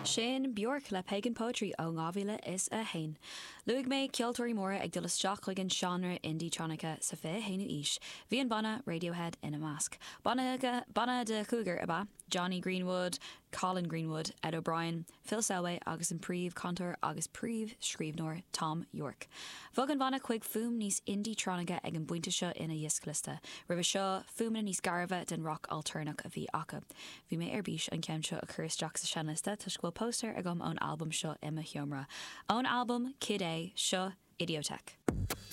Sin Bjork le Pagan Poetry ó 2001. Luaigh mé ceoltóirí móra ag dul isteach chuig an seánra indie-tronica sa 21ú aois. Bhí an banna Radiohead ina measc. Banna de chúigear ab ea Jonny Greenwood, Colin Greenwood, Ed O'Brien, Phil Selway agus an príomh-chantóir agus príomh-scríbhneoir Thom Yorke. Bhog an banna chuig fuaim níos indie-tronica ag an bpointe seo ina dhioscliosta. Roimhe seo, fuaimeanna níos gairbhe den roc ailtéarnach a bhí acu. Bhí mé ar bís an ceann seo a chur isteach sa seinnliosta toisc go bhfuil póstaer agam ón albam seo i mo sheomra. Ón albam Kid A, seo Idioteque.